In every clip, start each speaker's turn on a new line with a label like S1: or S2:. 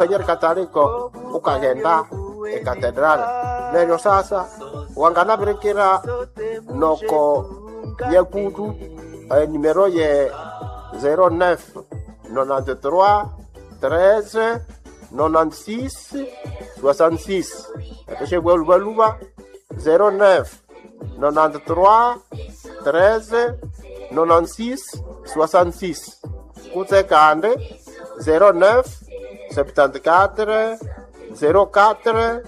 S1: Monseigneur Kataliko ukagenda ekatedrali neryo sasa wanganabirikira noko yekutu enimero ye 09 93 13 96 66 eteshebwa lubaluba 09 93 13 96 66 kutse kandi 09 74 04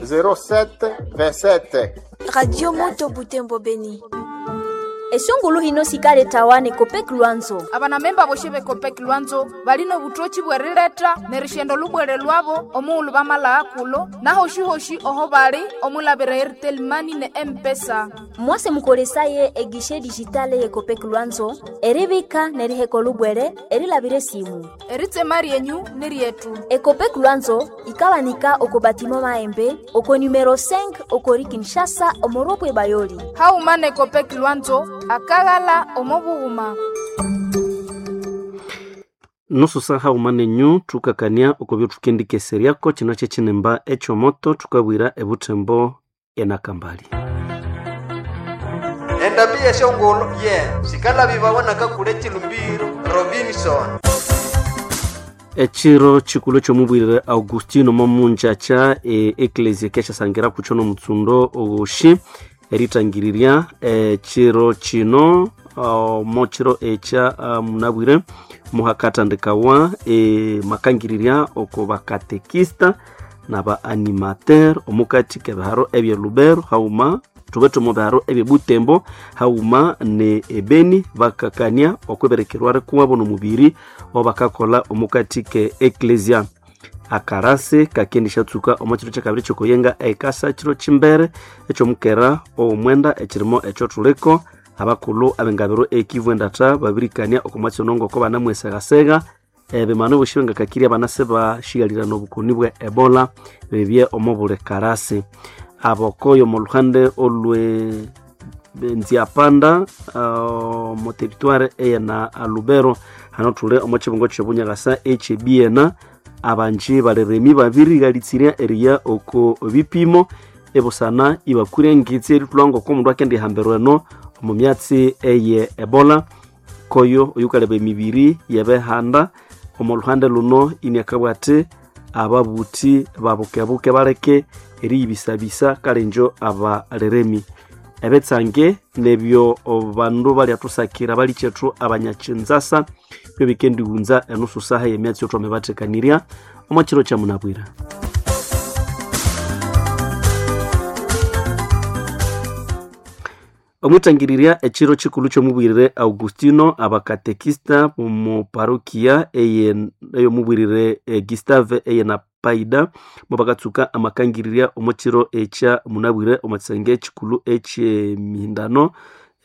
S1: 07 27.
S2: Radio Moto Butembo Beni.
S3: Esungulu hino sikale tawane Kopek Lwanzo.
S4: Abanamemba boshe be Kopek Lwanzo balina obutoki bwerileta nerishendo lubwere lwabo omuulu bamala kulo nahoshihoshi oho bali omulabira Airtel Money ne M-Pesa.
S3: Mwase mukolesaye egishe digitale ye Kopek Lwanzo eribika neriheko lubwere erilabire simu.
S4: Eritsema ryenyu ni ryetu.
S3: Ekopek Lwanzo ikawanika oko batimo maembe oko numero 5 okori Kinshasa omoropwe bayoli.
S4: Hauma ne Kopek Lwanzo akaghala omobughuma.
S5: Nusu saha umanenyu thukakania okubyo thukendikeseryako kino kyekinimba ekyomoto thukabwira ebuthembo enakambali.
S6: Endambi yeshongolo ye sikalabibawa nakakule chilumbiro Robinson.
S5: Ekiro kikulu ekyomubwirire Augustino momunjacha eklesia kyasyasangira kukyo nomutsundo owoshi eritangirirya ekiro kino mokiro ekya munabwire muhakatandikawa makangirirya oko bakatekista naba animateur omukati kebiharo ebye Lubero hauma thubethe omu biharo ebye Butembo hauma ne ebeni bakakania okwiberekerwa rikuwabo nomubiri obakakola omukati ke eklesia. Akarasi kakendishatsuka omo kiro kyakabiri kyokuyenga ekasa kiro kimbere ekyomukera owomwenda ekirimo ekyothuliko abakulhu abengabiro ekivu endatha babirikania oko mwatsi ono ngoko banamwesegasega ebimanu bosi bengakakirya banase bashighalirana obukoni bwe Ebola bebye omo buli karasi. Abokoyo omo luhande olwe Nziapanda omo territoire eyena Lubero hano thuli omo kibungo kyobunyakasa ekyebiena abanji baliremi babirighalitsirya eriya oko bipimo ebusana ibakwire engitsi erithulha ngoko omundu akendihambirwa eno omu myatsi eye Ebola koyo oyukaleba emibiri yebehanda omo luhande luno iniakabugha athi ababuthi babukebuke baleke eriyibisabisa kalenjo abaliremi. Ebetsange nebyo bandu balyathusakira balikyethu abanyakyinzasa byo bikendighunza enusu saha yemyatsi yothwamibathekanirya omo kiro kyamunabwira. Omwitangirirya ekiro kikulu kyomubwirire Augustino abakatekista omu parokia eyomubwirire Gustave eyena Paida mubakatsuka amakangirirya omu kiro ekya munabwire omu kisenge kikulu ekyemihindano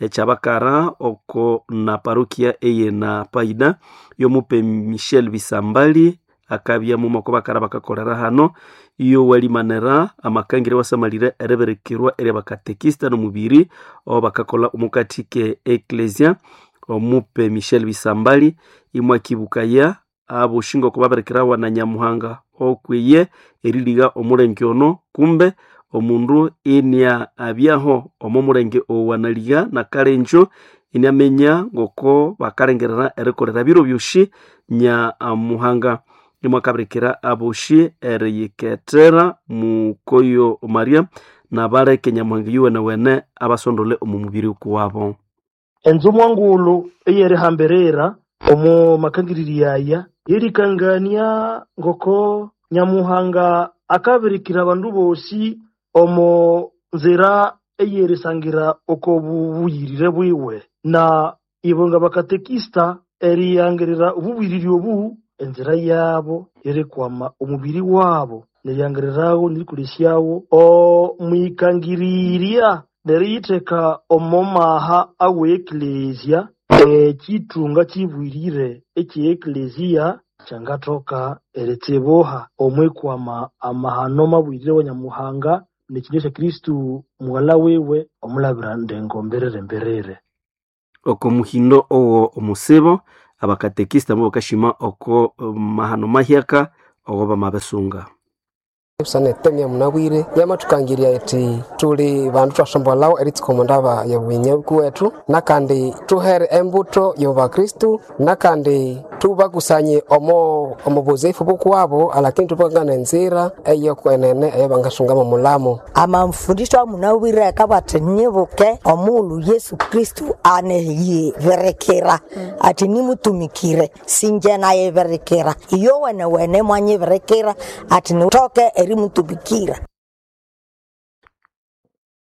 S5: ekyabakara oko na parokia eyena Paida yomupe Michel Bisambali akabya muma oko bakara bakakolera hano iyo walimanira amakangire wasamalire eriberekerwa eri abakatekista nomubiri obo bakakola omukati ke eklesia omupe Michel Bisambali imwakibukaya aboshinga oko baberekerawa na Nyamuhanga okwiye eriliga omulenge ono kumbe omundu inia abyaho omo mulenge owanaliga nakalenjo iniamenya ngoko bakalengerera erikolera biro byoshi Nyamuhanga nimwakabirekera aboshi eriyikethera mukoyo Maria nabaleke Nyamuhanga yuwenewene abasondole omu mubiri kuwabo.
S7: Enzu mwangulu eyerihambirira omu makangirirya aya yerikangania ngoko Nyamuhanga akabirikira abandu bosi omu nzira eyerisangira oko bubuyirire bwiwe na ibo nga bakatekista eriyangirira obubuyirire obu enzira yabo yerikwama omubiri wabo neryangiriragho nerikolesyawo omwikangirirya neriyitheka omo maha awe eklesia ekithunga kibwirire ekye eklesia kyangathoka eritsibuha omwikwama amahano mabwirire wa Nyamuhanga nekinywa kya Kristu mughala wiwe omulabira ndengo mberere mberere.
S5: Oko muhindo owo omusibo abakatekista bo bakashima oko mahano mahyaka ogo bamabisunga.
S8: Busana munabwire yamathukangirya iti tuli bandu twasombolhawo eritsuka omu ndaba yobunyauku wethu, nakandi tuhere embuto yobakristu, nakandi tubakusanye omo omubuzifu bukuwabo, alakini tubakangana enzira eyokwenene eyabangasungamo omulamo.
S9: Amamfundisho amunabwire akabati nyibuke omuulu Yesu Kristu aneyiberekera ati nimutumikire, sinje nayiberekera, iyo wene wene mwanyiberekera ati nitoke erimutumikira.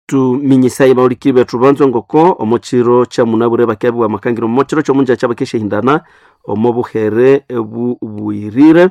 S5: Tuminyisaye baulikiri bethu banzwa ngoko omo kiro kya munabwire bakyabiwa amakangiro omo kiro kyomunjakya bakeshihindana omo buhere buyirire,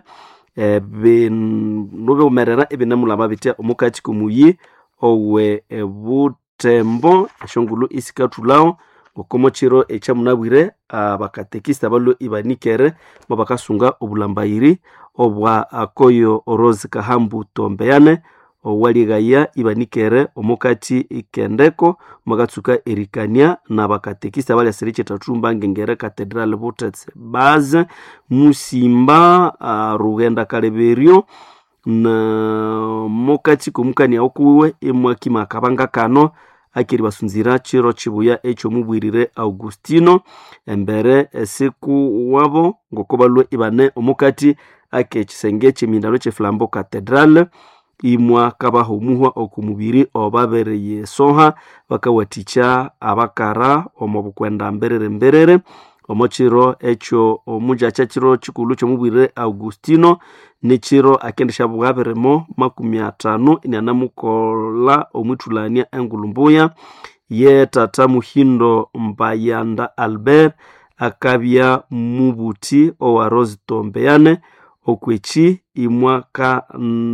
S5: binu biwumerera ibinemulaba bitya omukati komuyi owe Butembo eshongulu isikathulhawo ngoko omokiro ekya munabwire abakatekista balwe ibanikere mubakasunga obulambayiri obwa akoyo Rose Kahambu Tombeyane owalighaya ibanikere omukati ikendeko mwakatsuka erikania nabakatekista abalyasira ekyetathumba ngengere Cathedral Butetsi Baze Musimba, Rughenda Kaleberyo na mukati komukania okuwiwe imwakima akabanga kano akeri basunzira chiro chibuya ekyomubwirire Augustino embere esiku wabo ngoko balwe ibane omukati akekisenge ekyemindalo ekyeflambo Cathedral imwa kabaha omuhwa oku mubiri obabereye soha bakawathikya abakara omo bukwenda mberere mberere omo kiro ekyo omujakya kiro kikulhu kyomubwirire Augustino nikiro akendisya bwabirimo 50 inianamukolha omwithulania engulhu mbuya ye tata Muhindo Mbayanda Albert akabya mubuthi owa Rose Tombeyane okweki imwaka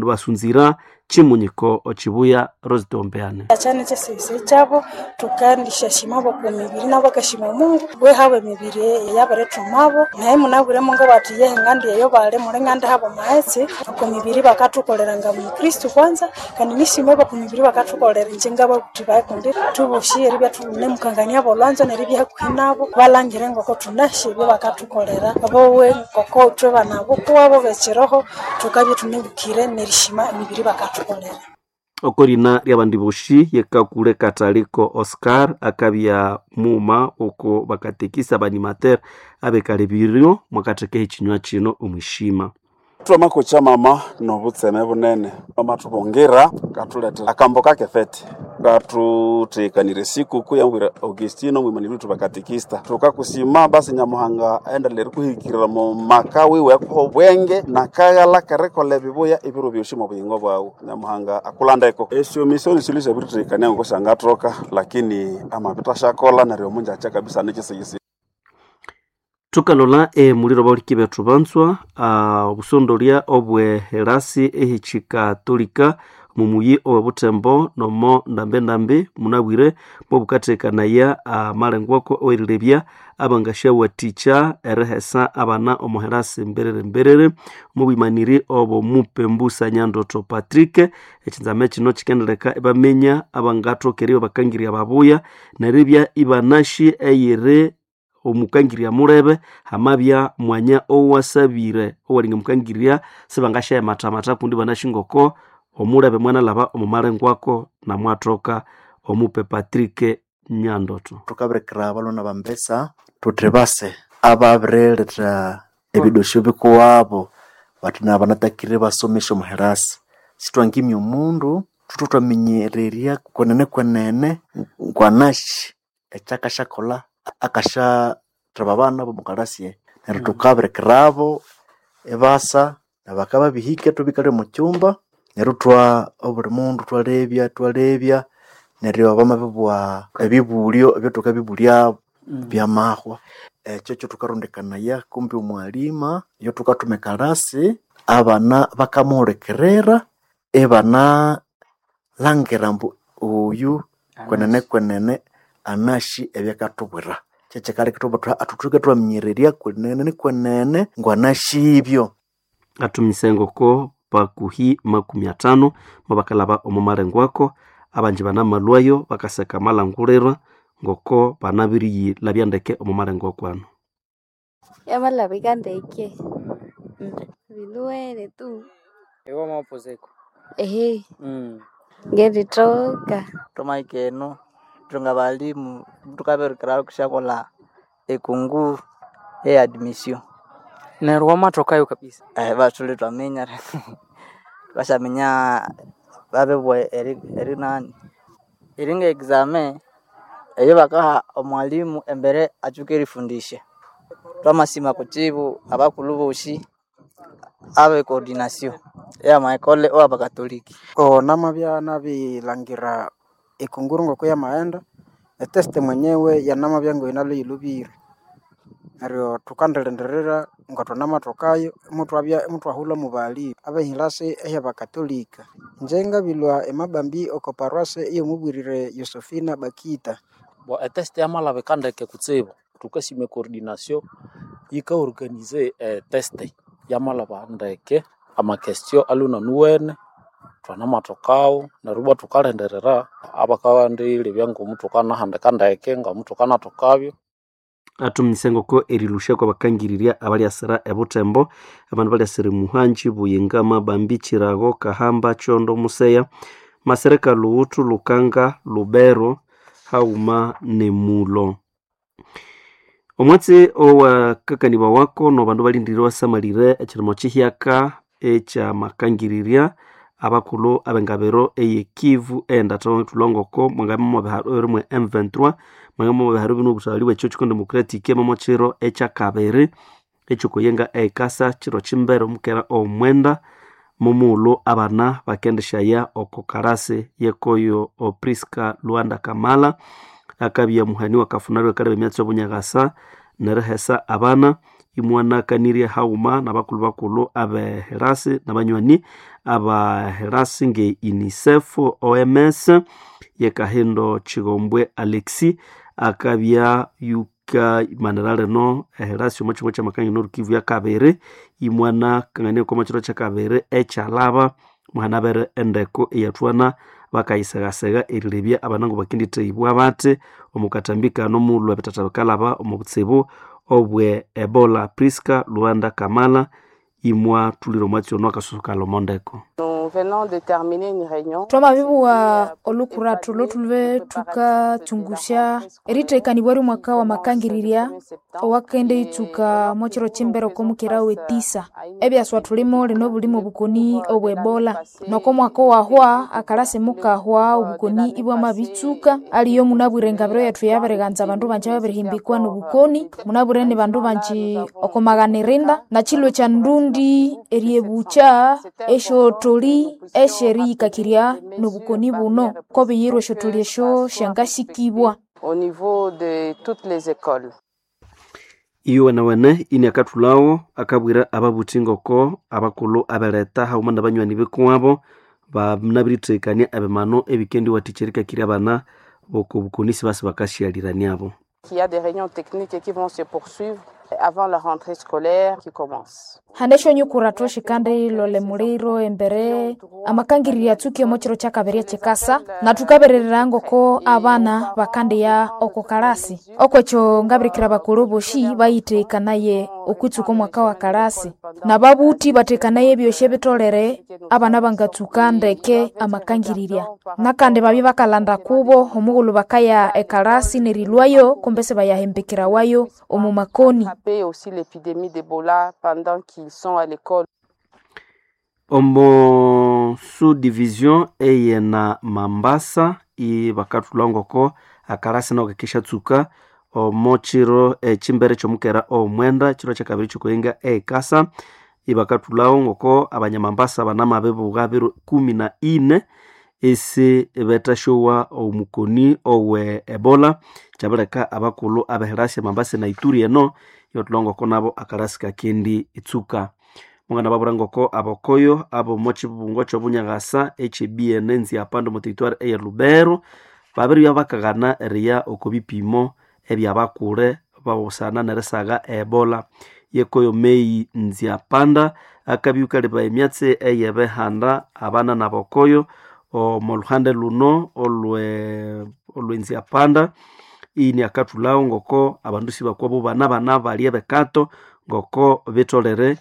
S5: basunzira chimunyiko ochibuya Rose Tombeyane.
S10: Achane chesese chabo tukandisha bo ku mibiri nabo bakashima Mungu we hawe mibiri yabaretumabo naye munabwire mungu bati yehe ngandi eyo bale mule ngandi habo maetse ku mibiri bakatukoleranga mu Kristo kwanza kandi nishime bo ku mibiri bakatukolera njenga bakuti bakundi tuboshi eribya tune mukangania bolwanzo neribya kuhinabo balangire ngoko tunashe byo bakatukolera abowe ngoko twe banabo kuwabo bekiroho tukabye tunebukire nerishima emibiri bakatukolera.
S5: Okorina lyabandi boshi yekakule kataliko Oscar akabya muma oko bakatekisa banimater abekalebirio mwakatheka ekinywa kino omwishima.
S11: Twamako kya mama nobutseme bunene amatubongira katulethera akambo kake fete katuthekanire sikuku yambwira Augustino mwimaniri tubakatekista tukakusima basi Nyamuhanga aendelere erikuhikirira mu maka wiwe akuha obwenge nakaghala kerikolha ebibuya ebiro byosi omu buyingo bwawu. Nyamuhanga akulandeko esyo misioni silisa ebirithekania ngoko syangathoka lakini amabita asyakolha neryo omunjakya kabisa nikisigisi.
S5: Tukalola emuliro bawuliki bethu banzwa obusondolya obwe herasi ehikikatolika mumuyi owe Butembo nomo ndambe munabwire mwabukathekanaya amalengwako owerilebya abangasyawathikya erihesa abana omo herasi mberere mberere mubwimaniri obo Mupembusa Nyandoto Patrick. Ekinzame kino kikendeleka ibaminya abangathokerya bakangirya babuya neribya ibanashi eyiri omukangirya mulebe hamabya mwanya owasabire owalinga mukangirya sibangasya mathamata kundi banashi ngoko omulebe mwanalaba omumalengwako namwathoka omupe Patrick Nyandoto.
S12: Thukabirekera abalwana bambesa thuthi base ababirilethera ebidosyo bikuwabo bathi nabanatakire basomesya omuherasi. Sithwangimya omundu thuthwe thwaminyererya kwenene kwenene ngwanashi ekyakasyakolha akasyatheba abana bomukarasi neryo thukabirekerabo ibasa nabakababihika ithubikalya omu kyumba neryo thwa obuli mundu thwalebya thwalebya neryo bamabibugha ebibulyo ebyathukabibulya byamahwa. Ekyo kyothukarondekanaya kumbi omwalima iyo thukathuma ekalasi abana bakamuhulikirira ibana langira ambu oyu kwenene kwenene anashi ebyakathubwira. Kyekikaleka ithwabugha thuthi thuthoke thwaminyererya kwenene kwenene ngwanashi ibyo.
S5: Athumise ngoko bakuhi 50 mwabakalaba omu malengwako abanji banamalwayo bakaseka amalangulirwa ngoko banabiriyilabya ndeke omu malengwako ano.
S13: Yamalabika ndeke. Binuwene tu.
S14: Iwe wamapuziko?
S13: Ehe. Ngenditoka.
S15: Twamahika eno ithwe ngabalimu thukabirikira kusyakolha ekunguru eye admission.
S14: Neryo wamathokayo kabisa?
S15: Bathuli thwaminya thwasyaminya babibugha erinani eri nge exame eyabakaha omwalimu embere atsuke erifundisya. Thwamasima kutsibu abakulhu bosi abe coordination eyama ecole owabakatoliki.
S16: Namabya nabirilhangira ekunguru ngoko yamaghenda, etest mwenyewe yanamabya ngayinalwe yilhobire. Neryo thukandilindirira ngathwanamathokayo imutwabya imutwahulha mubali abehilasi ehyabakatolika. Ingye ngabilhwa emabambi oko paroisse eyomubwirire Yosefina Bakita.
S17: Bo etest yamalabika ndeke kutsibu thukasima ecoordination yika organize etest yamalhaba ndeke ama question alwe inanuwene thwanamathokawo neryo ibwa thukalindirira abakandilebya ngomuthukanahandika ndeke ngomuthukanathokabyo.
S5: Athuminyise ngoko erilusha kwabakangirirya abalyasira ebuthembo abandu balyasira Muhanji, Buyinga, Mabambi, Chirago, Kahamba, Chondo, Museya, Masereka, Lughuthu, Lukanga, Lubero haghuma nemulo. Omwatsi owakakanibwa wako nobandu balindirire basamalire ekirimo kihyaka ekyamakangirirya abakulhu abengabiro eye Kivu endatha thulwa ngoko mwangabya mwabiharo rimwe M23 mwangabya mwabiharo bino obuthaghali bwe Church Democratic momo kiro ekyakabiri ekyokuyenga ekasa kiro kimbere omukera omwenda mumughulhu abana bakendishaya oko karasi yekoyo Priska Luanda Kamala akabya muhani wakafunalyo akaleba emyatsi y'obunyaghasa nerihesa abana imwanakanirye haghuma nabakulhu bakulhu abeherasi nabanywani abaherasi nge UNICEF, OMS yekahindo Chigombwe Alexi akabya yukamanira lino eherasi omo kyimo kyamakangania norukivu yakabiri imwanakangania omo kiro kyakabiri ekyalaba muhanabere endeko eyathwana bakayisegasega erilebya abana ngobakendithehibwa bathi omu katambi kano mughulhu ebithatha bikalhaba omu butsibu obwe Ebola. Priska Luanda Kamala imwathulira omwatsi ono akasusukalha omo ndeko.
S4: Twamabibugha olukurathu lhothulhube thukatsungusya erithekanibwa ryomwaka wamakangirirya owakenditsuka omwakiro kimbere okwamukera wetisa. Ebyaswa thulimo lino bulimo obukoni obwe Ebola. Noko mwaka owahwa akalasi mukahwa obukoni ibwamabitsuka aliyo munabwire engabiro yethu yabirighanza abandu banji ababirihimbikwa nobukoni munabwire ni bandu banji okomaghanirindi nakilhwe kya ndundi eryebukya esyotholi esyeriyikakirya nobukoni buno kobiyirwa esyotholi esyo syangasikibwa.
S18: Au niveau de toutes les écoles.
S5: Iyowenewene ini akathulhawo akabwira ababuthi ngoko abakulhu abeletha haghuma nabanywani bikuwabo banabirithekania ebimano ebikendiwathikya erikakirya abana boko bukoni sibasi bakasyaliraniabo.
S18: Il y a des réunions techniques qui vont se poursuivre avant la rentrée scolaire qui commence.
S4: Hane esyonyukurathu syikandilolha emuliro embere amakangirirya atsuke omo kiro kyakabiri ekyikasa nathukabererera ngoko abana bakandiya oko kalasi okwekyo ngabirikira abakulhu bosi bayithekanaye okwitsuka omwaka wa kalasi nababuthi bathekanaye ebyosi ebitholere abana bangatsuka ndeke amakangirirya nakandi babya bakalhanda kubo omughulhu bakaya ekalasi nerilhwayo kumbe sibayahembekerawayo omu makoni.
S18: Attraper aussi l'épidémie d'Ebola pendant qu'ils sont à l'école.
S5: Omo subdivision eyena Mambasa ibakathulha ngoko akalasi nako kakishatsuka omo kiro ekimbere kyomukera omwenda kiro kyakabiri kyokuyenga ekasa ibakathulhawo ngoko abanyamambasa banamabibugha biro 14 esi betasyowa omukoni owe Ebola kyabileka abakulhu abeherasi Mambasa na Ituri eno ibathulha ngoko nabo akalasi kakendi itsuka. Mungana babwira ngoko abakoyo abomo kibungo kyobunyaghasa ekye Nziapanda omo territoire eye Lubero babiribya bakaghana eriya oko bipimo ebyabakule babusana nerisagha Ebola. Yekoyo Mei Nziapanda akabya yukaleba emyatsi eyebihanda abana nabakoyo omo luhande luno olwe Nziapanda ini akathulhawo ngoko abandu sibakwabo bana bana balya ebekato ngoko bitolere.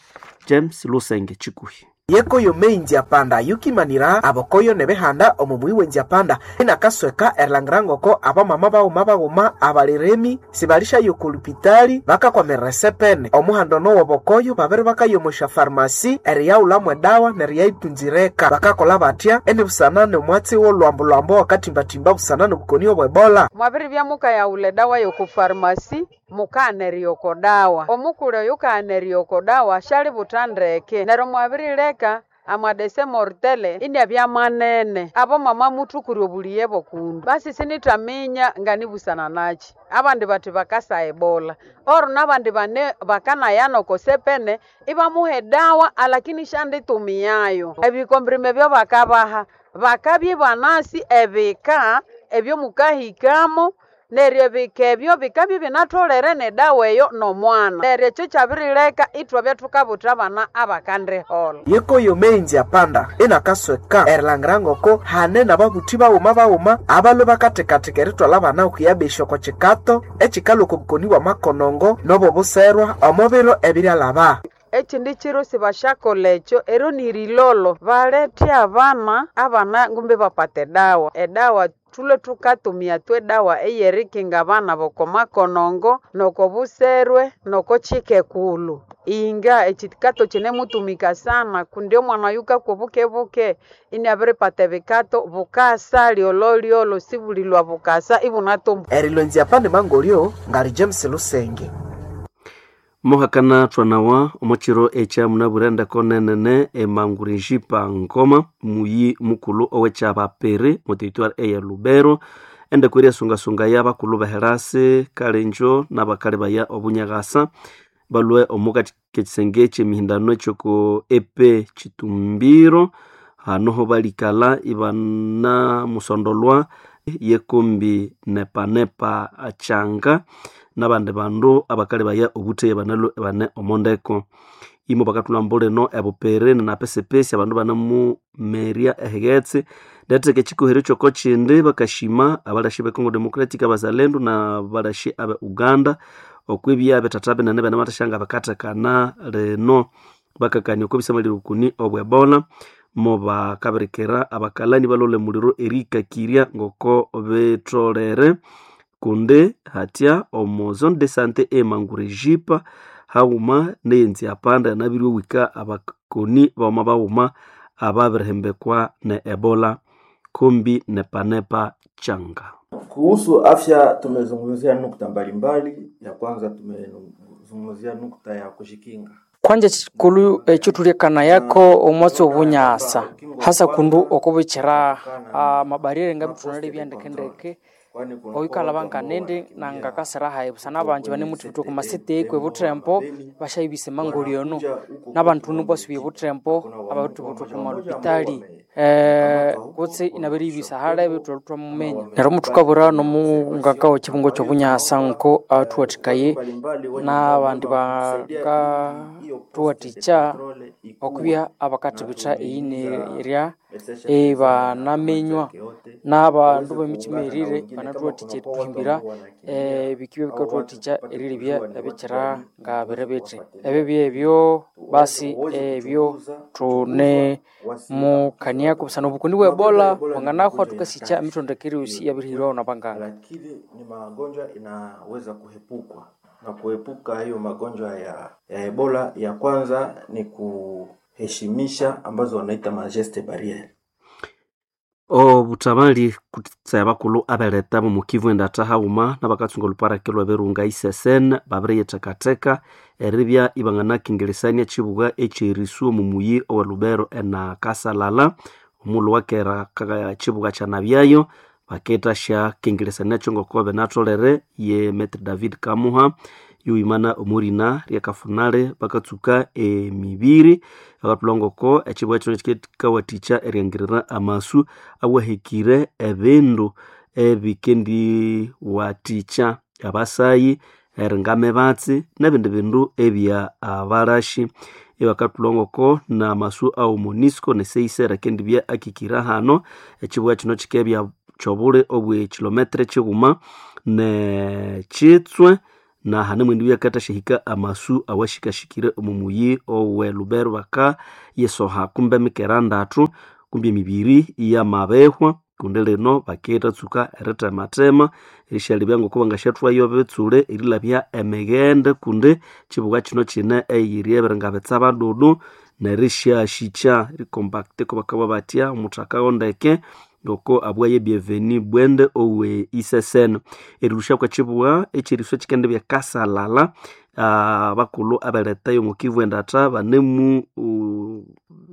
S5: James Lusenge Chikuhi.
S19: Yekoyo mei nziapanda yukimanira abokoyo nebihanda omo muyi wenziapanda inakasweka erilhangira ngoko abamama baghuma baghuma abaliremi sibalishayo okolupitali bakakwamirira esepene omuhando nowo bokoyo babiri bakayomosha farmasi eriyaghulhamu edawa neriyayitunzireka bakakola batya enibusana nomwatsi wolwambo-lwambo wakatimbatimba busana nobukoni obwebola.
S18: Mwabiribya mukayaghulha edawa yoko farmasi mukaghana oko dawa omukuli oyu kaghana oko dawa syalibutha ndeke neryo mwabirileka amadese mortele inabya manene abo mama muthukura obuliye bokundu basi sinithaminya nganibusana nakyi abandi bathi bakasa ebola oro nabandi bane bakanayana oko sepene ibamuha edawa alakini syanditumiayo ebikombrime byobakabaha bakabya ibanasi ebika ebyomukahikamo neryo ebika ebyo bikabya ibinatholere nedawa eyo nomwana neryo ekyo kyabirileka ithwabya thukabutha abana abakandiholha.
S19: Yekoyo mei nziapanda inakasweka erilhangira ngoko hane nababuthi baghuma baghuma abalwe bakathekatheka erithwalha abana okuyabesya oko kikato ekikalhwa oko bukoni bwamakonongo nobobuserwa omo biro ebiryalhaba.
S18: Ekindi kiro sibasyakolha ekyo ero nirilolo balethe abana abana ngumbi bapata edawa edawa thulwe thukatumia twedawa eyerikinga abana bokomakonongo nokobuserwe nokokikekulhu inga ekikato kinemutumika sana kundi omwana oyu kakwa obukebuke iniabiripata ebikato bukasa lyololyolo sibulilwa bukasa ibunatumbuka.
S19: Erilwa enziapanda emangolyo ngali James Lusenge.
S5: Mohakana twanawa omukiro ekya munabwire ndeko nenene emangurejipa ngoma muyi mukulu owekyabapere mu territoire eye Lubero endeko eryasungasunga y'abakulu beherasi kalenjo n'abakali baya obunyagasa balwe omukati kekisenge ekyemihindano ekyoko epe Kitumbiro hanoho balikala ibana musondolwa yekombi nepanepa achanga n'abandi bandu abakali baya obutheya banalwe bane omondeko imo bakathulha mbulino ebupere napesepesi abandu banamumerya ehighetse ndetheka ekikohero kyoko kindi bakashima abalashi be Congo Democratic abazalendo na balashi abe Uganda okwibya bethatha binene banamathashanga bakathekana lino bakakania okwibisamalira obukoni obwa Ebola mo bakabirikira abakalani balole muliro erikakirya ngoko bitholere kundi hatya omo zone de sante emangurejipa haghuma neyenziapanda yanabiriwika abakoni baghuma baghuma ababirihembekwa ne Ebola kombi nepanepa changa.
S20: Kuhusu afya tumezungumzia nukta mbalimbali. Ya kwanza tumezungumzia nukta ya kujikinga.
S14: Kwanja chikulu ekyo yako omwatsi obunyasa hasa kundu okubikira amabarire ngabithunala ebyandekendeke oikalaba nkanindi nangakasira hayi busana abanji banemuthibitha oku masite ekwe buthempo bashayibisa emangoli ono nabandu nibasubya ebuthempo abathibitha oku malupitali kutse inabiriyibisa hale bethu mumenya neryo muthukabura nomungaka wekibungo kyobunyasa nko athuwathikaye nabandi bakathuwathikya okubya abakathibitha eyinerya ibanaminywa n'abandu b'emitima erire banathuwathikya erithuhimbira ebikibya bikathuwathikya erilebya ebikira nga biri bithi ebyo byebyo basi ebyo thune mukaniako busana obukoni bwa Ebola bwanganahwa thukasikya emithondekere yosi iyabirihirwaho nabanganga.
S20: Lakini ni magonjwa inaweza kuepukwa na kuepuka hiyo magonjwa ya Ebola, ya kwanza ni kuheshimisha ambazo wanaita majeste barriere.
S5: Obutabali kutse abakulhu abeleta bomukivu endatha haghuma n'abakatsunga oluparaki lw'ebirunga ICSN babiriyithekatheka eribya ibanganakingirisania ekibuga ekyerisu omu muyi owe Lubero enakasalala omulhu wakera kibuga kyanabyayo bakethasyakingirisaniakyo ngoko binatholere ye Maitre David Kamuha yuwimana omurina ryakafunale bakatsuka emibiri bakathulha ngoko ekibuga kino kikawathikya eriangirira amasu awahekire ebindu ebikendiwathikya abasayi eringa mibatsi n'ebindi bindu ebya abalashi ibakathulha ngoko n'amasu awo MONUSCO ne CICR akendibya akikira hano ekibuga kino kikebya kyobuli obwe kilometre kighuma ne kitswe. Na hane mwendi byakatashihika amasu awashikashikire omu muyi owe Lubero baka yesoha kumbe mikera ndatu kumbe emibiri iyamabehwa kundi lino bakitatsuka eritematema erishalebya ngoko bangasyathwayo bitsule erilabya emighende kundi kibuga kino kine eyiri ebiringa bitsaba dudu nerisyashikya erikombakiti kobakabugha batya omuthaka ndeke ngoko abwaye Bienvenu Bwende owe isesene. Erilhusya kwekibuga ekyeriswa kikendibya kasalala, abakulhu abeletha yomo Kivu endatha banemu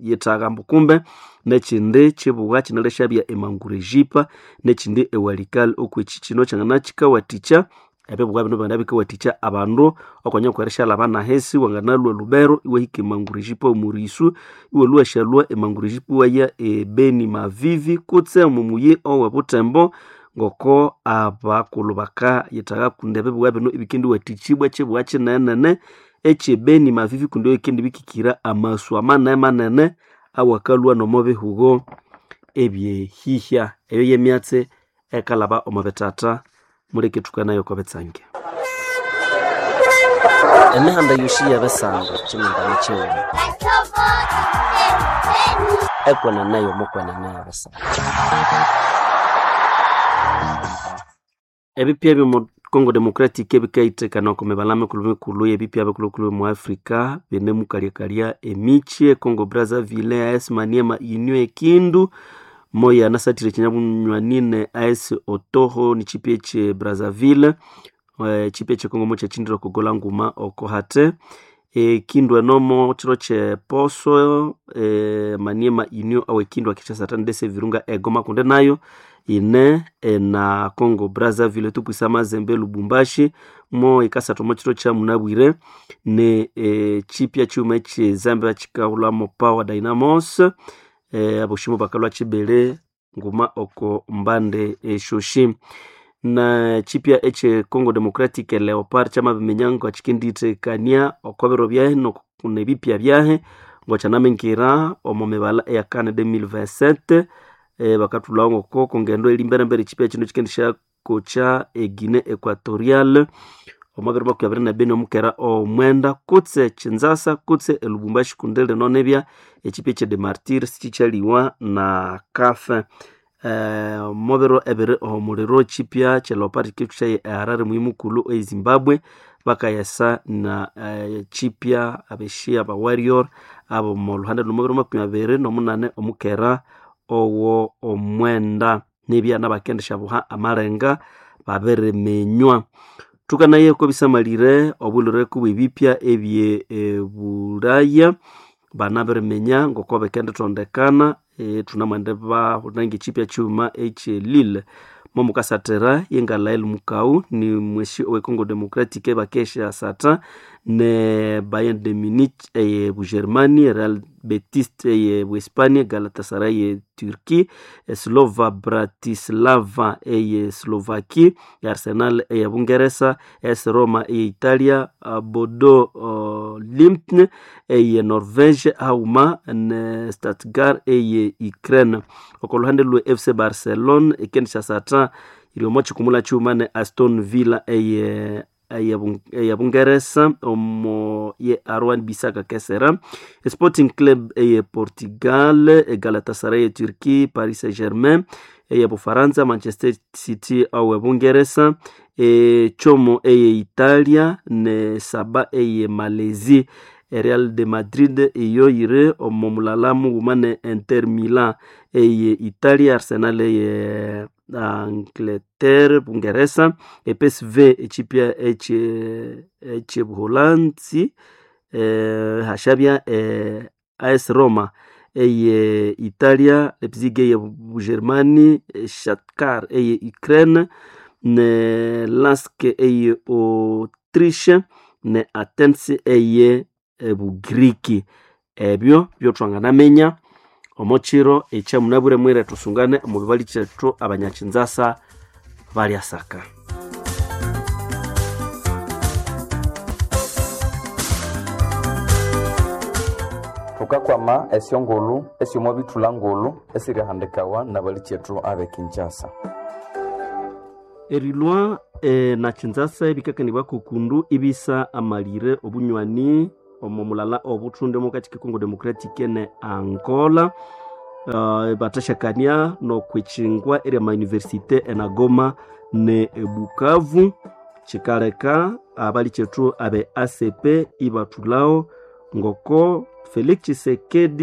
S5: yithagha ambu kumbe nekindi kibuga kinalyasyabya emangurejipa nekindi ewalikale okweki kino kyangana kikawathikya ebibuga bino byangana bikawathikya abandu okwanya kwerishalaba nahisi wanganalhwa Lubero iwahika emangurejipa omurisu iwalhwa washalhwa emangurejipa iwaya ebeni Mavivi kutse omo muyi owe Butembo ngoko abakulhu bakayithagha kundi ebibuga bino ibikendiwathikibwa kibuga kinenene ekyebeni Mavivi kundi ebikendibikikira amasu amanene manene awakalhwa nomo bihugo ebyehihya. Eyo yemyatsi ekalhaba omo bithatha muleke thukanayo oko bitsange.
S21: Emihanda yosi yebisanga kyimindani kyighuma ekwenene yomukwenene yebisanga.
S5: Ebipya ebyomo Congo Democratic ebikaithekana oko mibalha mikulhu-mikulhu yebipya bikulhu-kulhu mu Africa binemukalyakalya emikyi e Congo Brazzaville, AS Maniema Union ekindu moya anasathire ekinyabunywani ne AS Otoho nikyipya ekye Brazzaville, ekyipya ekye Congo mukyakyindire oko gola nguma oko hate. Ekindu enomo kiro kyeposo Maniema Union awe kindu akikyasatha ndese Virunga egoma kundi nayo ine ena Congo Brazzaville tupwisa Mazembe Lubumbashi mo ikasatha omo kiro kya munabwire ne kyipya kyuma ekye Zambia kikahulhamo Power Dynamos, aboshimo bakalhwa kibiri nguma oko mbande esyoshi. Na kyipya ekye Congo Democratic Leopard kyamabiminya ngakikendithekania oko biro byahi nebipya byahi ngokyanaminkira omo mibalha eya CAN 2027, bakathulhawo ngoko kongendo eri emberembere ekyipya kino kikendisyakocha e Guinea Equatorial omo biro makumi abiri nebini omukera omwenda kutse Kinshasa kutse e Lubumbashi kundi lino nibya ekyipya ekye de Martyrs kyikyaliwa na CAF. Omo biro ebiri omuliro ekyipya kye Leopard kikithusyayo e Harare muyi mukulhu e Zimbabwe bakayesa na kyipya abeshi aba warrior abomo lhuhande lh'omo biro makumi abiri n'omunane omukera owo omwenda nibya nabakendisyabuha amalenga babiriminywa. Thukanaye oko bisamalire obulhwere kubw'ebipya ebye Bulaya banabiriminya ngoko bikendithondekana thunamwende bahulha ng'ekyipya kyighuma ekye Lille momukasathira yengalael Mukau ni mwesi owe Congo Democratic bakesya satha ne Bayern de Munich eye Bugermany, Real Betis eye Buespania, Galatasaray eye Turkey, Slova Bratislava eye Slovakia, Arsenal eye Bungeresa, AS Roma eye Italia, Bodo Glimt eye Norvege haghuma ne Stuttgart eye Ukraine. Oko lhuhande lwe FC Barcelona ikendisya satha iri omo kyikumula kyighuma ne Aston Villa eye Bungeresa omo ye Aaron Bissaka kesera, Sporting Club eye Portugal, Galatasaray eye Turkey, Paris Saint-Germain eye Bufaransa, Manchester City awe Bungeresa, Como eye Italia ne Saba eye Malaisie. Real de Madrid iyo yiri omo mulala mughuma ne Inter Milan eye Italia, Arsenal eye Angleterre Bungeresa, PSV ekyipya ekye Buholanzi, hasyabya AS Roma eye Italia, Leipzig eye Bugermany, Shakhtar eye Ukraine ne Lask eye Autriche ne Athens eye Bugiriki. Ebyo byothwanganaminya omo kiro ekyamunabwire mwire thusungane omo bibali kyethu abanyakinzasa balyasaka.
S22: Thukakwama esyongulhu esyomwabithulha ngulhu esirihandikawa nabalikyetu abe Kinshasa.
S5: Erilwa na Kinzasa ebikakanibwa kokundu ibisa amalire obunywani omo mulala obuthunde omo kachi Congo Democratic ne Angola. Bathashakania nokwitsingwa erya mayunivesite enagoma ne ebukavu kikaleka abali kyethu abe ACP ibathulao ngoko Felix Tshisekedi.